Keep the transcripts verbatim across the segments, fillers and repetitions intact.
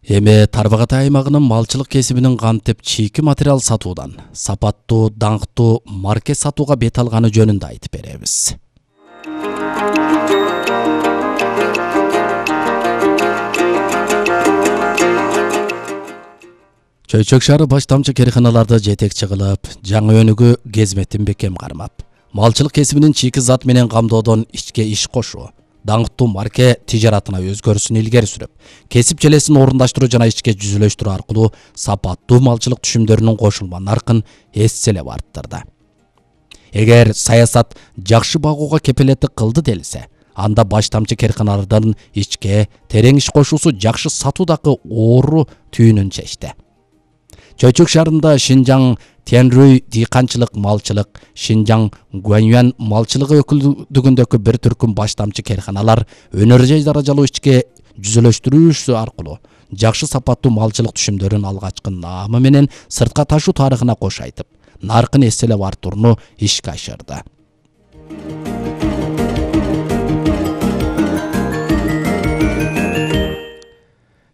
Эми Тарбағатай аймагынын малчылык кесибинин кантип чийки материал сатуудан сапаттуу, даңктуу марке сатууга бет алганы жөнүндө айтып беребиз. Чөйчөк шаары баштамчы керканаларды жетекчи кылып, жаңы өнүгүү кезметин бекем кармап, малчылык кесибинин чийки зат менен камдоодон ичке иш кошуу, даңктуу марке тижаратына өзгөрүшүн илгери сүрүп, кесип желесин орундаштыруу жана ичке жүзүлөштүрүү аркылуу сапаттуу малчылык түшүмдөрүнүн кошулма наркын эсселеп арттырды. Эгер саясат жакшы багууга кепилеттик кылды делсе, анда баштамчы керканалардын ичке терең иш кошуусу жакшы сатуудагы оору түйүнүн чечти. Чөйчөк шаарында Шинжаң Тяньрюй дыйканчылык малчылык, Шинжаң Гуаньюань малчылыгы өкүлдүгүндөгү бир түркүм баштамчы керканалар өнөр жай даражалуу ичке жүзүлөштүрүүсү аркылуу жакшы сапаттуу малчылык түшүмдөрүн алгачкы наамы менен сыртка ташуу тарыхына кош айтып, наркын эсселеп арттырууну ишке ашырды.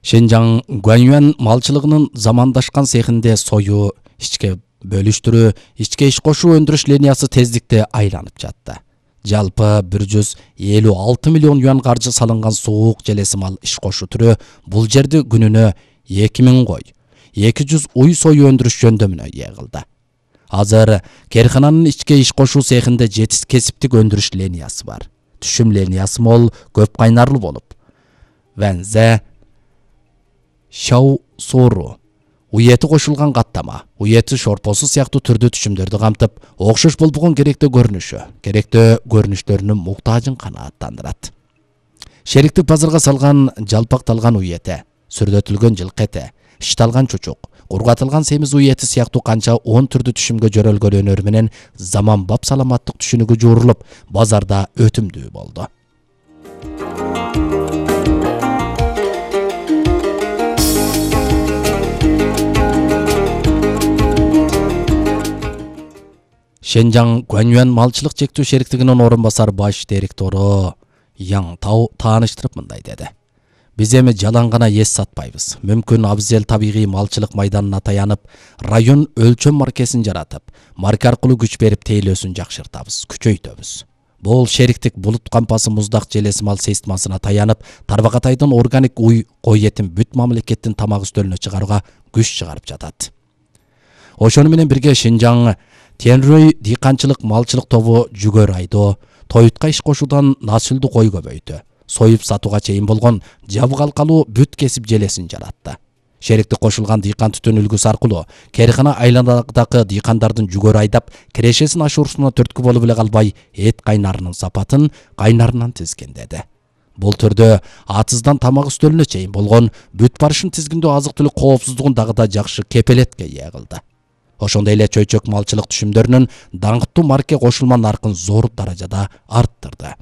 Шинжаң Гуаньюань малчылыгынын замандашкан цехинде сою, ичке бөлүштүрүү, ичке иш кошуу өндүрүш линиясы тездикте айланып жатты. Жалпы бир жүз элүү алты миллион юан каржы салынган суук желеси мал иш кошуу түрү бул жерди күнүнө эки миң кой, эки жүз уй сою өндүрүш жөндөмүнө ээ кылды. Азыр керкананын ичке иш кошуу цехинде жети кесиптик өндүрүш линиясы бар. Түшүм линиясы мол, көп кайнарлуу болуп, вензе, шау сору, уети кошулган каттама, уети шорпосу сыяктуу түрдүү түшүмдөрдү камтып, окшош болбогон керектүү көрүнүшү, керектүү көрүнүштөрүнүн муктажын канааттандырат. Шериктик базарга салган жалпакталган уети, сүрдөтүлгөн жылкы эти, ичталган чучук, кургатылган семиз уети сыяктуу канча он түрдүү түшүмгө жөрөлгөн өнөр менен заманбап саламаттык түшүнүгү жуурулуп, базарда өтүмдүү болду. Шинжаң Гуаньюань малчылык чектүү шериктигинин орун басар баш директору Яң Тау тааныштырып мындай деди. Биз эми жалаң гана эс сатпайбыз. Мүмкүн абзел табигый малчылык майданына таянып, район өлчөм маркесин жаратып, марке аркылуу күч берип тейлөөсүн жакшыртабыз, күчөйтөбүз. Бул шериктик булут кампасы муздак желеси мал сейстмасына таянып, Тарбағатайдын органик уй кой этин бүт мамлекеттин тамак үстөлүнө чыгарууга күч чыгарып жатат. Ошону менен бирге Шинжаң Тяньрюй дыйканчылык малчылык тобу жүгөр айдоо, тоютка иш кошуудан насылдуу кой көбөйтү, союп сатууга чейин болгон жабгалкалуу бүт кесип желесин жаратты. Шериктик кошулган дыйкан түтүн үлгүсү аркылуу керкана айланадагы дыйкандардын жүгөр айдап, кирешесин ашуурусуна түрткү болуп эле калбай, эт кайнарынын сапатын кайнарынан тизгиндеди. Бул түрдө атыздан тамак үстөлүнө чейин болгон бүт барышын тизгиндөө азык-түлүк коопсуздугун дагы да жакшы кепелетке ээ кылды. Ошондой эле чөйчөк малчылык түшүмдөрүнүн даңктуу марке кошулма наркын зор даражада арттырды.